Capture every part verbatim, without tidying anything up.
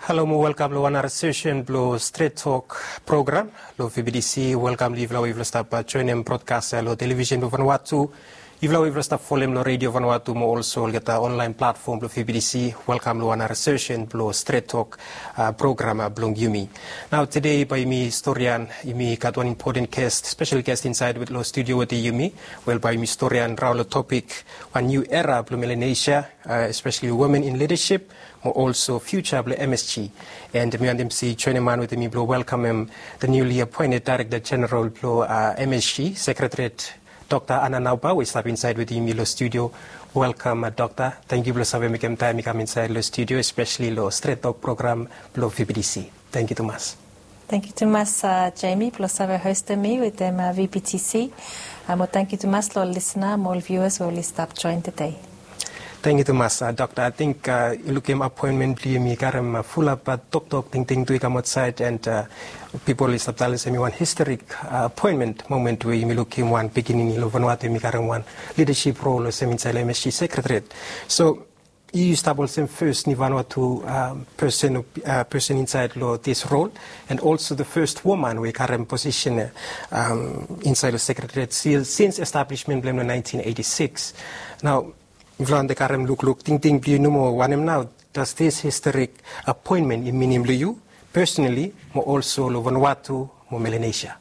Halo mo welkam long wan nara sesen blong Stret Tok program long V B T C. Welkam long yufala we yufala stap joenem brodkas ya long televisen blong Vanuatu. Yufala we yufala stap folem long Radio Vanuatu mo olso olgeta onlaen platfom blong V B T C, welkam long wan nara sesen blong Stret Tok program blong yumi. Nao tede bae yumi storian, yumi gat wan impoten ges, spesel ges insaed long studio wetem yumi. Wel, bae yumi storian raon long topik wan niu era blong Melanesia, espeseli women in lidasip mo olso fiuja blong M S G. And mi wantem se joenem han wetem mi blong welkamem the newly appointed Director General blong M S G Secretariat, Dokta Anna Naupa, we i stap insaed wetem yumi long studio. Welkam, Dokta. Tangkiu blong save mekem taem i kam insaed long studio, espeseli long Stret Tok program blong V B T C. Tangkiu tumas. Tangkiu tumas, Jamie, blong save hostem mi wetem V B T C. Mo tangkiu tumas long ol lisna mo ol viuas we oli stap joen tede. Tangkiu tumas, Dokta. Ating yu lukim apoenmen blong yumi i karem fulap toktok, tingting tu i kam aotsaed, and pipol i stap talem se hemi wan historik apoenmen momen we yumi lukim wan pikinini long Vanuatu hemi karem wan lidasip rol olsem insaed long M S G Secretariat. So yu stap olsem fes niu Vanuatu pesen, pesen insaed long this role, and also the first woman we i karem posisen insaed long Secretariat sils sins establishment blong hem long nineteen eighty-six. Nao mifala wantem karem lukluk, tingting blong yu nomo, wanem nao does this historic apoenmen i minim long yu personally mo olso long Vanuatu mo Melanesia?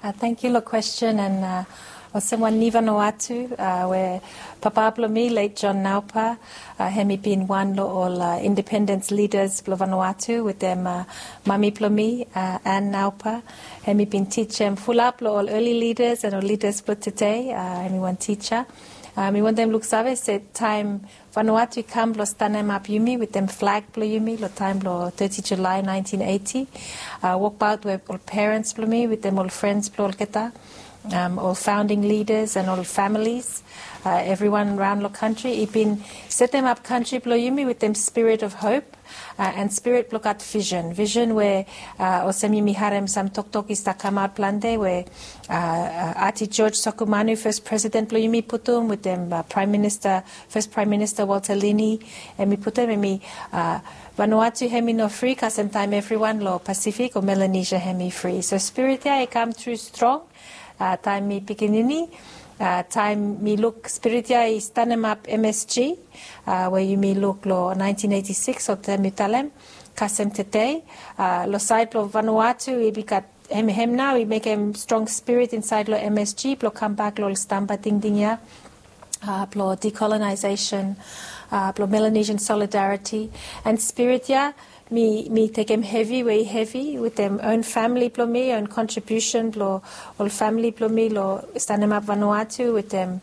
Tangkiu long kwesten, and olsem wan niu Vanuatu we papa blong mi, late John Naupa, hemi bin wan long ol independens lidas blong Vanuatu wetem mami blong mi, Ann Naupa. Hemi bin tijem fulap long ol early leaders and ol lidas blong tede. Hemi wan tija. Mi wantem luksave se taem Vanuatu i kam blong stanemap yumi wetem flag blong yumi long taem blong teti Julae nineteen eighty, wokbaot we ol perens blong mi wetem ol frens blong olgeta, ol faonding lidas and ol familis, evriwan raon long kantri, i bin setemap kantri blong yumi wetem spirit of hope and spirit blong gat visen. Visen we olsem yumi harem sam toktok i stap kamaot plante we Ati George Soekarno, fes presiden blong yumi, putum wetem Praem Minista, fes Praem Minista Walter Lini, hemi putum, hemi Vanuatu hemi no fri kasem taem evriwan long Pasifik o Melanesia hemi fri. So spirit ya i kam tru strong taem mi pikinini, taem mi luk spirit ya i stanemap M S G we yumi luk long nineteen eighty-six, olsem mi talem, kasem tede. Long saed blong Vanuatu i bin gat hem, hem nao i mekem strong spirit insaed long M S G blong kambak long ol stamba tingting ya blong decolonization, blong Melanesian solidarity. And spirit ya mi, mi tekem hevi, we i hevi wetem own famili blong mi, own kontribiusen blong ol famili blong mi long stanemap Vanuatu wetem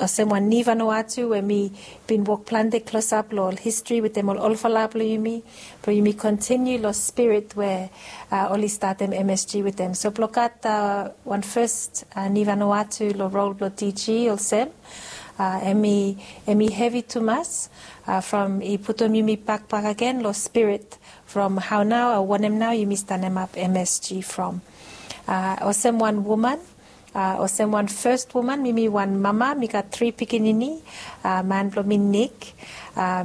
olsem wan niu Vanuatu we mi bin wok plante klosap long ol histri wetem ol olfala blong yumi, blong yumi kontiniu long spirit we oli statem M S G wetem. So blong gat wan fes niu Vanuatu long rol blong D G olsem, hemi, hemi hevi tumas from i putum yumi bak bakegen long spirit from hao nao o wanem nao yumi stanemap M S G from. Olsem wan woman, olsem wan fes woman, mi, mi wan mama, mi gat tri pikinini, man blong mi Nick,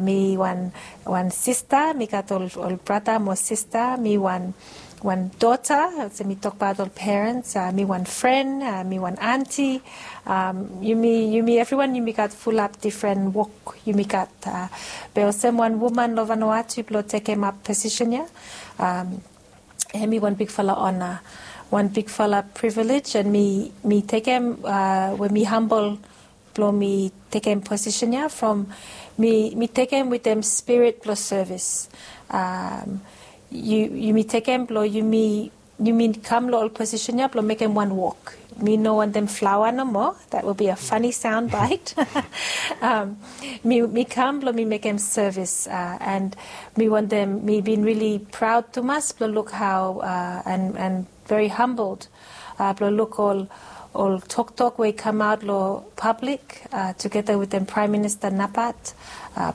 mi wan, wan sista, mi gat ol, ol brata mo sista, mi wan, wan dota, olsem mi tokbaot ol perens, mi wan fren, mi wan anti, yumi, yumi evriwan yumi gat fulap difren wok yumi gat. Be olsem wan woman long Vanuatu blong tekemap posisen ya, hemi wan bigfala ona, wan bigfala privilege, and mi, mi tekem we mi hambol blong mi tekem posisen ya from mi, mi tekem wetem spirit blong sevis. Yu, yumi tekem blong yumi, yumi kam long ol posisen ya blong mekem wan wok. Mi no wantem flaoa nomo. That will be a funny sound bite. Mi, mi kam blong mi mekem sevis, and mi wantem, mi bin rili praod tumas blong luk hao, and, and very humbled blong luk ol, ol toktok we i kamaot long pablik tugeta wetem Praem Minista Napat,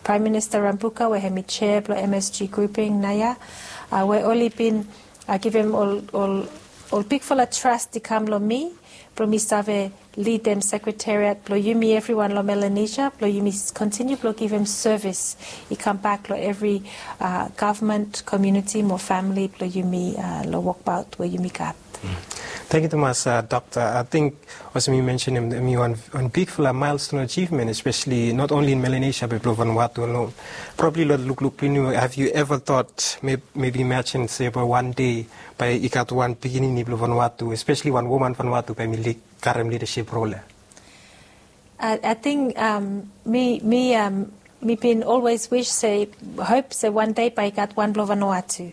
Praem Minista Rabuka we hemi jea blong M S G grouping naoia, we oli bin givim ol, ol, ol bigfala tras i kam long mi Blong mi save lidim sekretariat blong yumi evriwan long Melanesia blong yumi kontiniu blong givim sevis i kambak long evri gavman, komuniti mo famili blong yumi long wokbaot we yumi gat. Tangkiu tumas, Dokta. Ating olsem yu mensenim, em i wan bigfala milestone achievement, especially not only in Melanesia be blong Vanuatu alone. Probably long lukluk blong yu, have you ever thought, maybe imagine se bae wan dei bae i gat wan pikinini blong Vanuatu, especially wan woman Vanuatu bae mi karem leadership role ya? Ating mi mi mi bin always wish se, hop se wan dei bae i gat wan blong Vanuatu,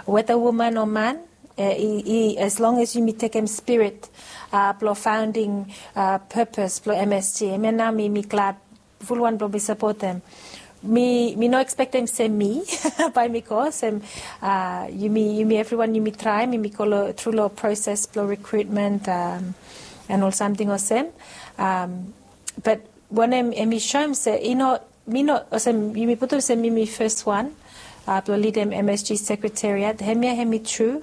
weda woman o man. As long as yumi tekem spirit blong founding purpose blong M S G, hemia nao mi mi glad fulwan blong mi sapotem. Mi mi no ekspektem se mi bae mi go olsem, yumi yumi evriwan yumi traem, yumi go tru long proses blong recruitment and ol samting olsem. Bat wanem em i soem se i no, mi no olsem yumi putum se mi mi fes wan blong lidim M S G sekretariat, hemia hem i tru.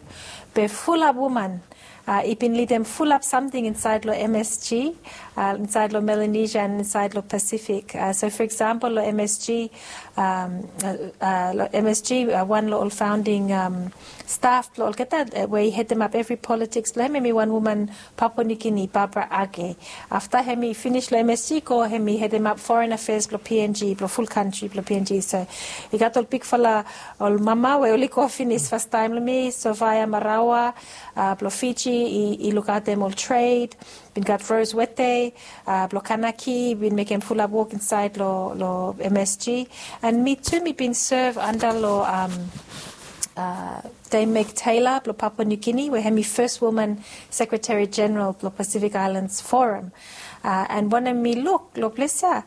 Be fulap woman i bin lidim fulap samting insaed long M S G, insaed long Melanesia and insaed long Pasifik. So for example long M S G, long M S G wan long ol founding staf blong olgeta we i hedemap evri politiks blong hem, hem i wan woman Papua New Guinea, Barbara Age. Afta hem i finis long M S G go hem i hedemap foreign affairs blong P N G, blong ful kantri blong P N G. So i gat ol bigfala ol mama we oli go finis fastaem long mi, Sofia Marawa blong Fiji, i lukaotem ol tred. Bin gat Rose Wete blong Kanaki, bin mekem fulap wok insaed long M S G. And mi tu mi bin sev anda long Dame Meg Taylor blong Papua New Guinea we hem i fes woman sekretari jeneral blong Pasifik Aelans Foram. And wanem mi luk long ples ya,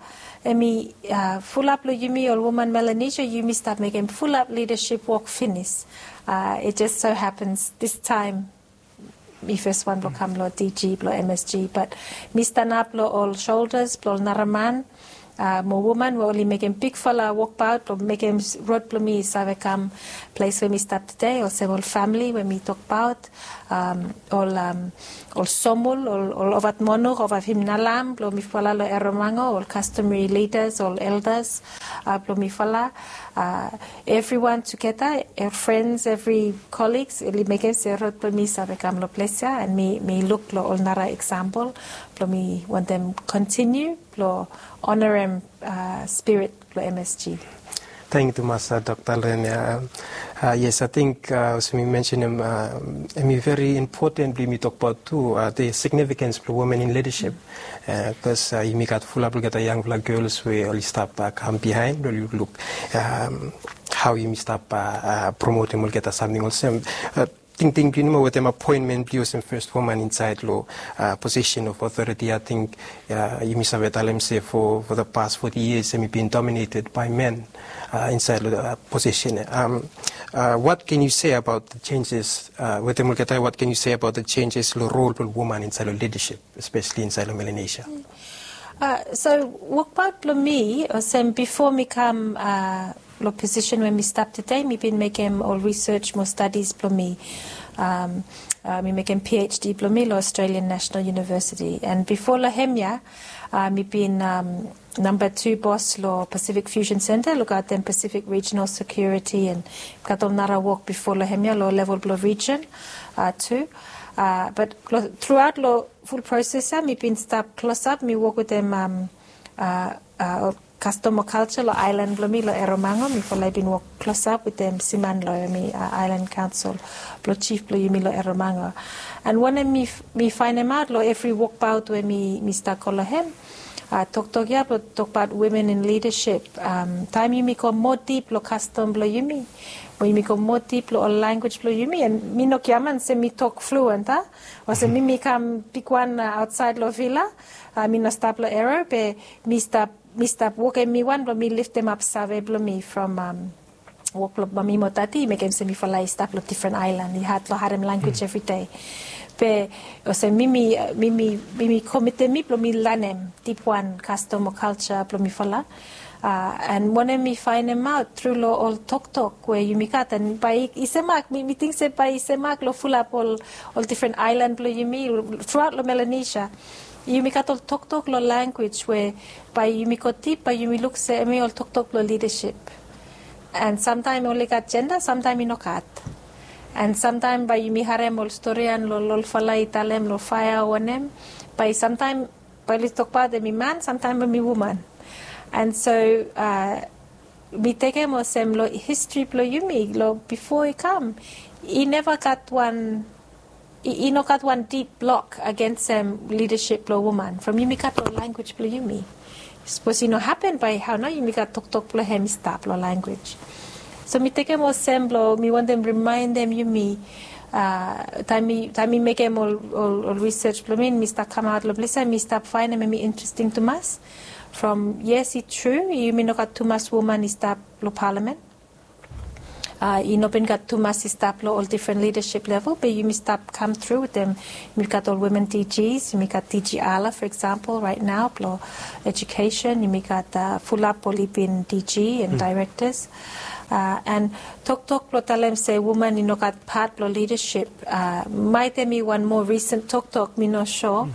hem i fulap long yumi ol woman Melanesia yumi stap mekem fulap lidasip wok finis. I jes so hapens distaem mi fes wan blong kam long D G blong M S G, bat mi stanap long ol soldas blong ol nara man mo woman we oli mekem bigfala wokbaot blong mekem rod blong mi i save kam ples we mi stap tede, olsem ol famili we mi tokbaot, ol ol somul, ol ol ovatmonuk, ovavimnalam blong mifala long Erromango, ol kastomari lidas, ol eldas blong mifala, evriwan tugeta, ol frens, evri koligs, oli mekem se rod blong mi save kam long ples ya, and mi mi luk long ol nara eksampol blong mi wantem kontiniu blong onarem spirit blong M S G. Tangkiu tumas, Dokta, long hemia. Yes, ating olsem mi mensenim, hem i veri impoten blong yumi tokbaot tu the significance blong women in leadership. Bikos yumi gat fulap olgeta yangfala gels we oli stap kam bihaen, oli lukluk hao yumi stap promotem olgeta samting olsem. Tingting blong yu nomo wetem apoenmen blong yu olsem fes woman insaed long position of authority, ating yumi save talem se for the past forty years hem i bin dominated by men insaed long position. What can you say about the changes, wetem olgeta, what can you say about the changes long rol blong woman insaed long lidasip, espeseli insaed long Melanesia? So wokbaot blong mi olsem bifo mi kam long posisen we mi stap tede, mi bin mekem ol risej mo stadis blong mi. Mi mekem PhD blong mi long Australian National University, and bifo long hemia mi bin namba tu bos long Pacific Fusion Centre, lukaotem Pacific Regional Security, and gat ol nara wok bifo long hemia long level blong rijen tu. Bat truaot long ful proses ya mi bin stap klosap, mi wok wetem ol kastom o kalja long aelan blong mi long Erromango. Mifala i bin wok klosap wetem Siman Loyemi, aelan kaonsel blong jif blong yumi long Erromango. And wanem mi faenemaot long evri wokbaot we mi stap go long hem, toktok ya blong tokbaot women in leadership, taem yumi go moa dip long kastom blong yumi, mo yumi go moa dip long ol lanwis blong yumi, and mi no giaman se mi tok fluent, a? Olsem mi mi kam bigwan aotsaed long vila, mi no stap long Erro, be mi stap mi stap wokem mi wan blong mi liftemap save blong mi from wok blong mami mo dadi i mekem se mifala i stap long difren aelan, i had long harem lanwis evridei. Be olsem mi mi mi mi mi komitem mi blong mi lanem dipwan kastom o kalja blong mifala. An wanem mi faenemaot tru long ol toktok we yumi gat, an bae i semak, mi ting se bae i semak long fulap ol difren aelan blong yumi, truaot long Melanesia. Yumi gat ol toktok long lanwis we bae yumi go dip, bae yumi luk se hemi ol toktok blong lidasip. An samtaem oli gat jenda, samtaem i no gat. An samtaem bae yumi harem ol storian long olfala i talem long faea o wanem, bae samtaem bae oli tokbaot hemi man, samtaem hemi woman. An so mi tekem olsem long histri blong yumi long bifo i kam, i neva gat wan, i no gat wan dip blok agensem lidasip blong woman from yumi gat long lanwis blong yumi. Sapos i no hapen, bae hao nao yumi gat toktok blong hem i stap long lanwis? So mi tekem olsem blong mi wantem rimaendem yumi, taem mi mekem ol risej blong mi, mi stap kamaot long ples ia, mi stap faenem hemi interesting tumas. From yes, i tru yumi no gat tumas woman i stap long palamen. I no bin gat tumas i stap long ol difren lidasip level, be yumi stap kam tru wetem, yumi gat ol women DGs, yumi gat DG Ala, for example, right now, blong education, yumi gat fulap oli bin DG and directors. An toktok blong talem se woman i no gat pat blong lidasip, maet hemi wan moa recent toktok, mi no sua.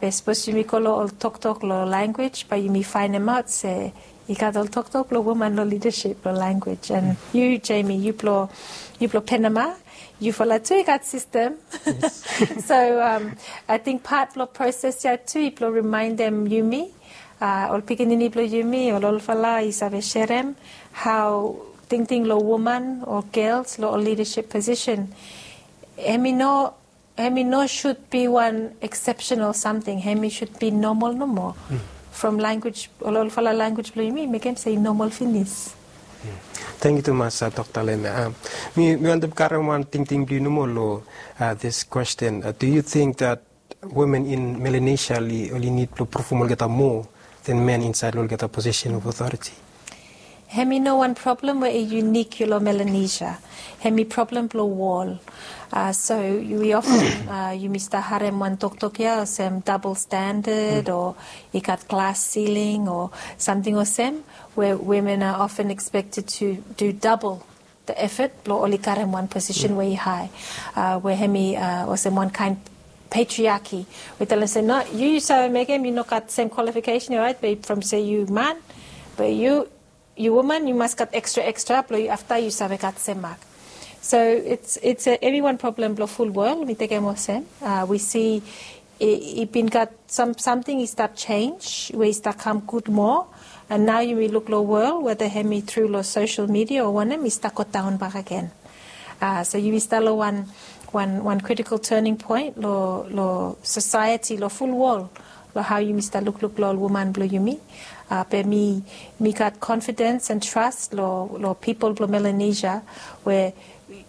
Be sapos yumi go long ol toktok long lanwis, bae yumi faenemaot se i gat ol toktok blong woman long lidasip long lanwis. An yu, Jamie, yu blong, yu blong Penama, yufala tu i gat sistem. So ating pat blong proses ia tu i blong rimaendem yumi, ol pikinini blong yumi, ol olfala i save serem hao tingting long woman o gels long ol lidasip posisen, hemi no, hemi no sud bi wan eksepsenal samting, hemi sud bi nomal nomo. From lanwis, ol olfala lanwis blong yumi mekem se i nomal finis. Tangkiu tumas, Dokta Leme. Mi wantem karem wan tingting blong yu nomo long this question. Do you think that women in Melanesia oli nid blong pruvum olgeta moa than men insaed long olgeta position of authority? Hemi no wan problem we i unik long Melanesia. Hemi problem blong wol. So wi ofen yumi stap harem wan toktok ia olsem double standard o i gat glass ceiling o samting olsem, we women are often expected to do double the effort blong oli karem wan posisen we i hae, we hemi olsem wan kaen patriarchy. We talem se no, yu yu save mekem, yu no gat sem kwalifikesen ia, raet? Be from se yu man, be yu, yu woman, yu mas gat ekstra ekstra blong yu afta yu save gat sem mak. So it's, it's a, hemi wan problem blong ful wol, mi tekem olsem. Wi si i bin gat sam, samting i stap jenis we i stap kam gud moa. An nao yumi luk long wol weda hemi tru long sosel midia o wanem, i stap godaon bak agen. So yumi stap long wan, wan, wan critical turning point long, long sosaeti long ful wol, long hao yumi stap lukluk long ol woman blong yumi. Be mi, mi gat confidence and trust long, long pipol blong Melanesia, we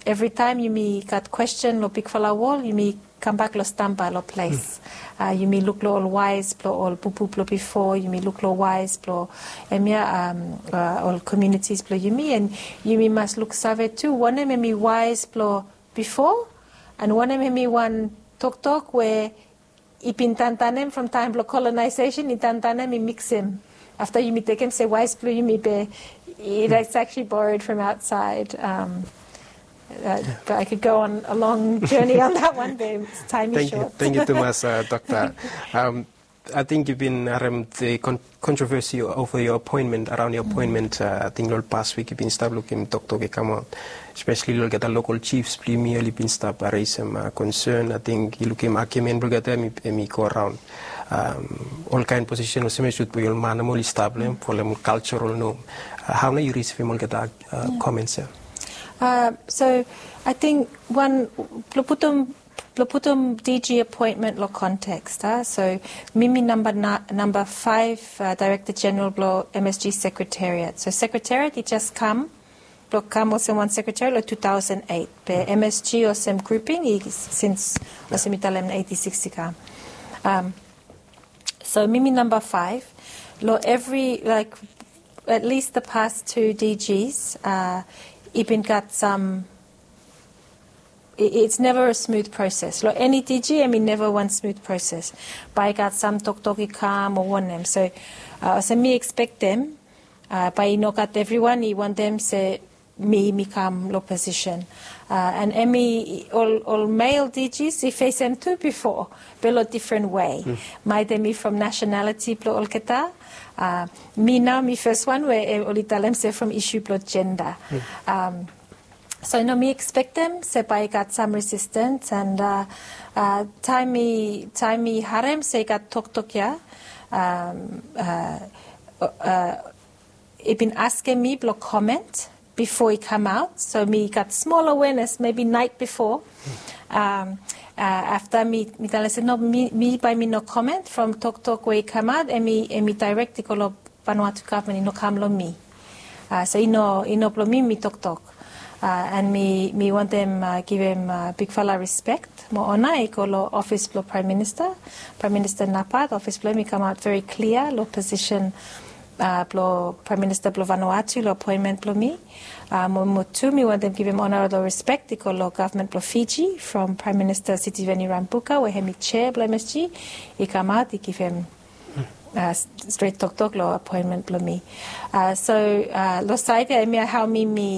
evritaem yumi gat kwesten long bigfala wol, yumi kambak long stamba long ples. Yumi luk long ol waes blong ol bubu blong bifo, yumi luk long waes blong hemia, ol communities blong yumi, an yumi mas luksave tu wanem hemi waes blong bifo, an wanem hemi wan toktok we i bin tantanem from taem blong colonization, i tantanem, i miksem. Afta yumi tekem se waes blong yumi, be that's actually borrowed from outside. But I could go on a long journey on that one, be taem i sot. Tangkiu tumas, Dokta. Ating yu bin harem the controversy over your appointment, around your appointment. Ating long ol pas wik yu bin stap lukim toktok i kamaot, especially long olgeta local chiefs blong yumi, oli bin stap resem concern. Ating yu lukim argument blong olgeta hemi go around. Ol kaen posisen olsem i sud blong ol man nomo oli stap long hem, folem ol cultural norm. Hao nao yu risivim olgeta comments ia? So ating wan, blong putum, blong putum DG appointment long context, a? So mi mi namba, namba faef Director General blong MSG Secretariat. So Secretariat i jes kam, blong kam olsem wan secretariat long two thousand eight. Be MSG olsem grouping i since, olsem mi talem, eighty-six i kam. So mi mi namba faef. Long evri, like, at least the past two DGs, i bin gat sam, it's never a smooth process. Long eni DG, hemi neva wan smooth process. Bae i gat sam toktok i kam o wanem. So olsem mi ekspektem Bae i no gat evriwan i wantem se mi mi kam long posisen. An hemi ol mel D Gs i fesem tu bifo, be long difren wei. Maet hemi from nasenaliti blong olgeta. Mi nao mi fes wan we oli talem se from isu blong jenda. So i no mi ekspektem se bae i gat sam resistens, an taem mi taem mi harem se i gat toktok ya, i bin askem mi blong komen bifo i kamaot, so mi gat smol awenes mebi naet bifo. Afta mi talem se no, mi bae mi no komen from toktok we i kamaot, hemi daerek i go long Vanuatu gavman, i no kam long mi. So i no i no blong mi mi toktok. An mi mi wantem givim bigfala rispek mo ona i go long ofis blong praem minista. Praem minista Napat, ofis blong hem i kamaot veri klia long posisen blong praem minista blong Vanuatu long apoenmen blong mi. Mo mo tu mi wantem givim ona long rispek i go long gavman blong Fiji, from praem minista Sitiveni Rabuka we hemi jea blong M S G, i kamaot i givim stret toktok long apoenmen blong mi. So long saed ya hemia hao mi mi